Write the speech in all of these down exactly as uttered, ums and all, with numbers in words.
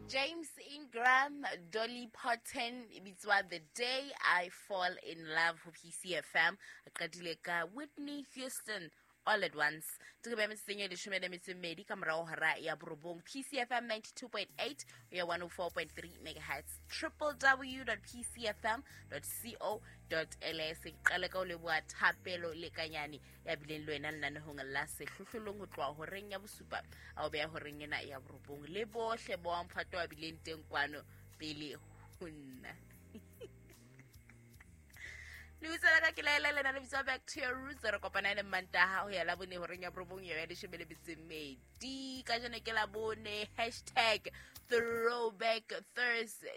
James Ingram, Dolly Parton, e bitswa The Day I Fall in Love ho P C F M. A qadile ka Whitney Houston, All at Once. Ke be metsotsong e leshome le metso e mmedi ka morao hora ya borobong. P C F M ninety-two point eight ho ya one oh four point three megahertz, w w w dot p c f m dot co dot l s. Ke qale ka ho leboha Thapelo Lekanyane ya bileng le wena lenanehong la Sehlohlolong ho tloha horeng ya bosupa a o beha horeng ena ya borobong, le bohle bo mphato a bileng teng kwano pele ho nna. Lebitso la ka ke Laela, lena le bitswa Back to Your Roots. Re kopana le Mantaha ho ya Labone horeng ya borobong ya leshome le metso e mmedi. Kajeno ke Labone, hashtag throwback Thursday.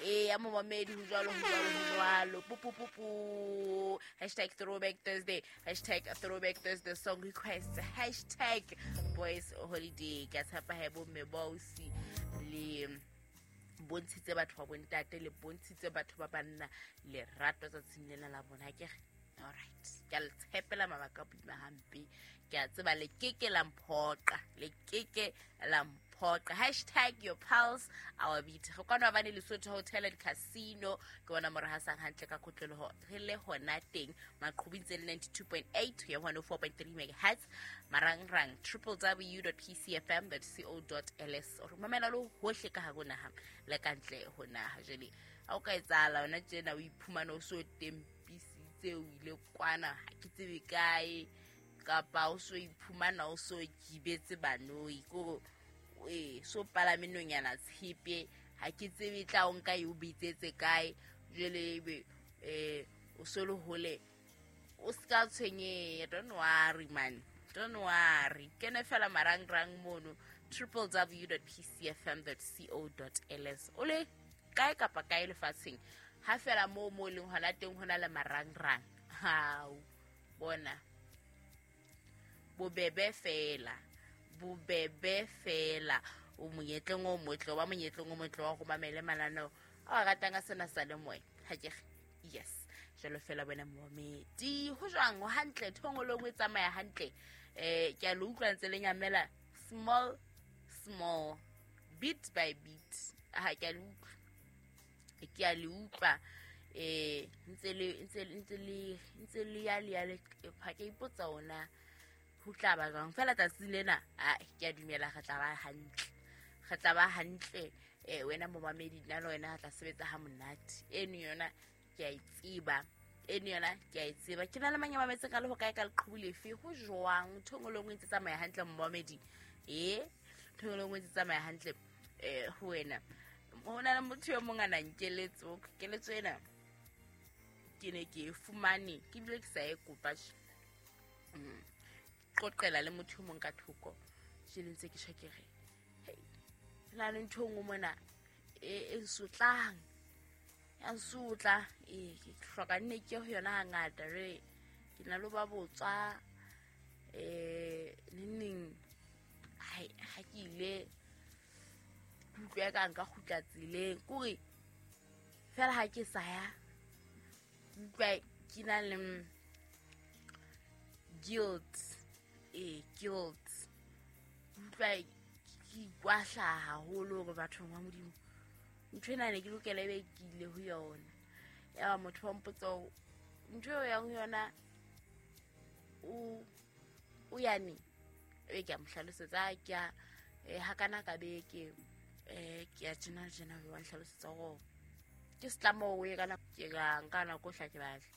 E ya momamedi, ho jwalo, ho jwalo, ho jwalo, pupupupu. Hashtag throwback Thursday, hashtag throwback Thursday song request, hashtag boys holiday. Ke a tshepa he bomme bausi le bontshitse batho ba bontate, le bontshitse batho ba banna lerato tsatsing lena la bona ke re. Alright, ke a le tshepela mabaka a boima hampe. Ke a tseba le keke la mphoqa, le keke la mphoqa. Hashtag your pulse our beat. Re kwana bane Lesotho Hotel and Casino, ke bona mo re hasang hantle ka kotloloho. Re le hona teng maqhubing tse le ninety-two point eight ho ya one oh four point three megahertz, marangrang w w w dot p c f m dot co dot l s. O re mamela le hohle ka hare ho naha le ka ntle ho naha. Jwale ha o ka etsahala yona tjena, o iphumana o so tempisitse, o ile kwana ha ke tsebe kae, kapa o so iphumana o so kibetse banoi kore ee so palame nonyana tshepe, ha ke tsebe tla o nka e o bitsetse kae. Jwale ebe um o so le hole, o ska tshwenyeha. Don't worry man, don't worry. Kene fela marangrang mono, w w w dot p c f m dot co dot l s. O le kae kapa kae lefatsheng, ha fela moo mo leng hona teng hona le marangrang, hao bona bobebe fela, bobebe fela. O monyetleng o motle, o ba monyetleng o motle wa go mamele mananeo a o ratang a sena sa le moya, ha ke re? Yes, jalo fela wena momedi, ho jwang? Ho hantle, thongolong e tsamaya hantle. um ke a le utlwa ntse le nyamela small small, bit by bit. Ha ke a le utlwa, ke a le utlwa eh ntse le ntse ntse le ntse le ya le ya le. Ha ke ipotsa ona ho tla ba jwang fela tsatsi lena. A ke a dumela re tla ba hantle, re tla ba hantle. eh wena momamedi, nna le wena re tla sebetsa ha monate. Eno yona ke a e tseba, eno yona ke a e tseba. Ke na le mang ya mametse ka le ho kae, ka leqhubu lefe? Ho jwang? Ntho e nngwe le nngwe e ntse tsamaya hantle, momamedi? E ntho e nngwe le nngwe e ntse tsamaya hantle um ho wena? Ho na le motho yo mong a nang keletso. Keletso ena ke ne ke e fumane ke bile ke sa e kopa tje. Mm. Qoqela le motho o mong ka thoko jele ntse ke tjho, ke re hei, ho na le ntho e nngwe mona e e nsotlang, ya nsotla. Ee, ke hloka nne ke ho yona hangata re ke na le ho ba botswa um neng neng. Hai, ha ke ile ke utlwa ka nka kgutla tseleng kore fela ha ke sa ya, ke utlwa ke na le mm, guilt. Ee, guilt. Ke utlwa ke ikwahlaya haholo hore bathong ba Modimo, ntho ena ne ke lokela ebe ke ile ho yona. Yaba motho wa mpotsa hore ntho eo yang ho yona o o yane. Ebe ke a mo hlalosetsa, "Ah, ke a eh, hakana ka beke um ke ya tjena le tjena." Wa nhlalosetsa hore ke setlamo o ye ka nako, ke ka nka nako hla ke batla.